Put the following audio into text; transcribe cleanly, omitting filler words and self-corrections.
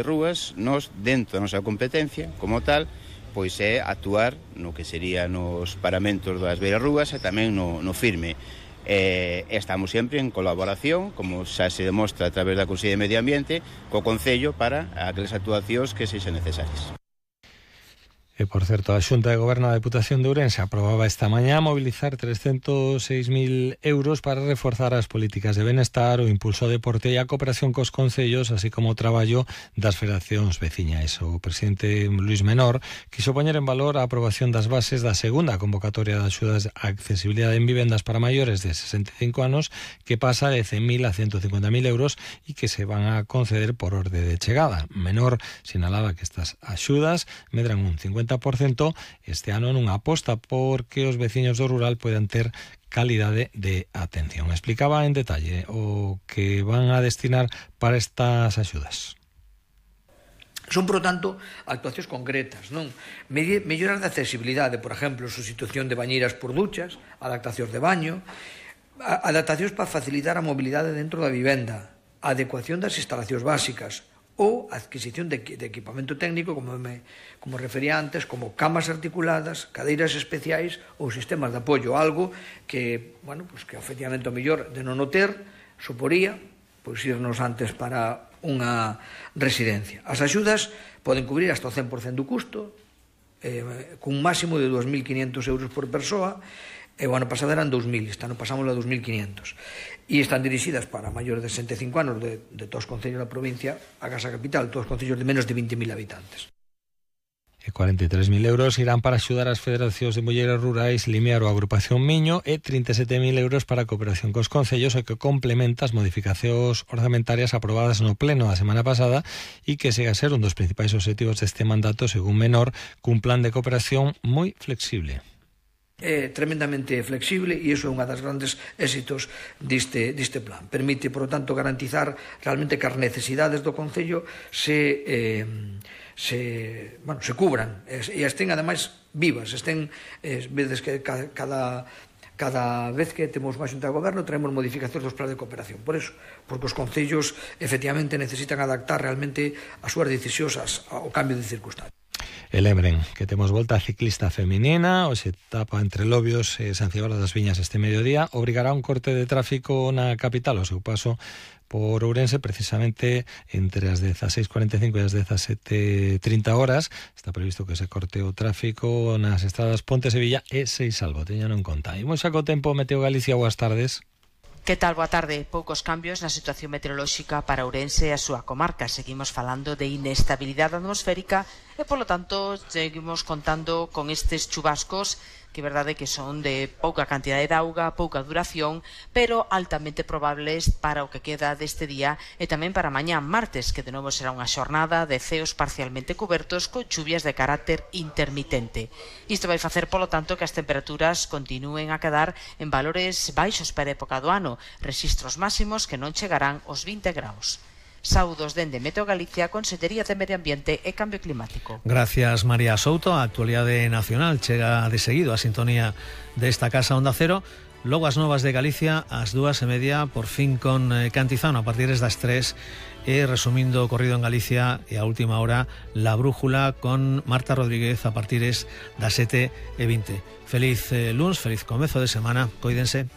Rúas, nós, dentro da nosa competencia, como tal, pois é actuar no que serían os paramentos das beirarrúas e tamén no firme. Estamos sempre en colaboración, como xa se demostra a través da Consellería de Medio Ambiente, co Concello para aquelas actuacións que sexan necesarias. E, por certo, a Xunta de Goberno da Deputación de Ourense aprobaba esta mañá mobilizar 306.000 euros para reforzar as políticas de benestar, o impulso ao deporte e a cooperación cos concellos, así como o traballo das federacións veciñais. O presidente Luís Menor quiso poñer en valor a aprobación das bases da segunda convocatoria de axudas a accesibilidade en vivendas para maiores de 65 anos, que pasa de 100.000 a 150.000 euros e que se van a conceder por orde de chegada. Menor sinalaba que estas axudas medran un 50% este ano nunha aposta porque os veciños do rural poidan ter calidade de atención. Explicaba en detalle o que van a destinar para estas axudas. Son, por lo tanto, actuacións concretas, non? Melloras de accesibilidade, por exemplo, sustitución de bañeiras por duchas, adaptacións de baño, adaptacións para facilitar a mobilidade dentro da vivenda, adecuación das instalacións básicas, ou adquisición de equipamento técnico, como refería antes, como camas articuladas, cadeiras especiais ou sistemas de apoio, algo que, que efectivamente o mellor de non o ter suporía irnos antes para unha residencia. As axudas poden cubrir hasta o 100% do custo, cun máximo de 2.500 euros por persoa, e o ano pasado eran 2.000, este ano pasamos a 2.500. E están dirixidas para maiores de 65 anos de todos os concellos da provincia, a Casa Capital, todos os concellos de menos de 20.000 habitantes. E 43.000 euros irán para axudar as federacións de mulleres rurais, Limiar ou Agrupación Miño, e 37.000 euros para a cooperación cos concellos, o que complementa as modificacións orzamentarias aprobadas no pleno da semana pasada e que segue a ser un dos principais obxectivos deste mandato, según Menor, cun plan de cooperación moi flexible. É tremendamente flexible e iso é unha das grandes éxitos deste plan. Permite, por lo tanto, garantizar realmente que as necesidades do Concello se cubran e estén, ademais, vivas. Vedes que cada vez que temos máis Xunta de Goberno traemos modificacións dos planes de cooperación. Por eso, porque os concellos efectivamente necesitan adaptar realmente as súas decisións ao cambio de circunstancias. E lembren que temos volta a ciclista feminina, hoxe etapa entre Lobios e San Cibrao das Viñas este mediodía, obrigará un corte de tráfico na capital ao seu paso por Ourense, precisamente entre as 16:45 e as 17:30 horas. Está previsto que se corte o tráfico nas estradas Ponte Sevilla e Seisalvo, teñano en conta. Imos xa co tempo. Meteo Galicia, boas tardes. Que tal? Boa tarde. Poucos cambios na situación meteorolóxica para Ourense e a súa comarca. Seguimos falando de inestabilidade atmosférica e, polo tanto, seguimos contando con estes chubascos que é verdade que son de pouca cantidade de auga, pouca duración, pero altamente probables para o que queda deste día e tamén para mañá martes, que de novo será unha xornada de ceos parcialmente cubertos con chuvias de carácter intermitente. Isto vai facer, polo tanto, que as temperaturas continúen a quedar en valores baixos para a época do ano, rexistros máximos que non chegarán aos 20 graus. Saúdos dende Meteo Galicia, Consellería de Medio Ambiente e Cambio Climático. Gracias, María Souto. A actualidade nacional chega de seguido a sintonía desta casa Onda Cero. Logo as novas de Galicia ás 2:30, por fin con Cantizano a partir das 3, e resumindo o corrido en Galicia e a última hora La Brújula con Marta Rodríguez a partir das 7:20. Feliz luns, feliz comezo de semana, coídense.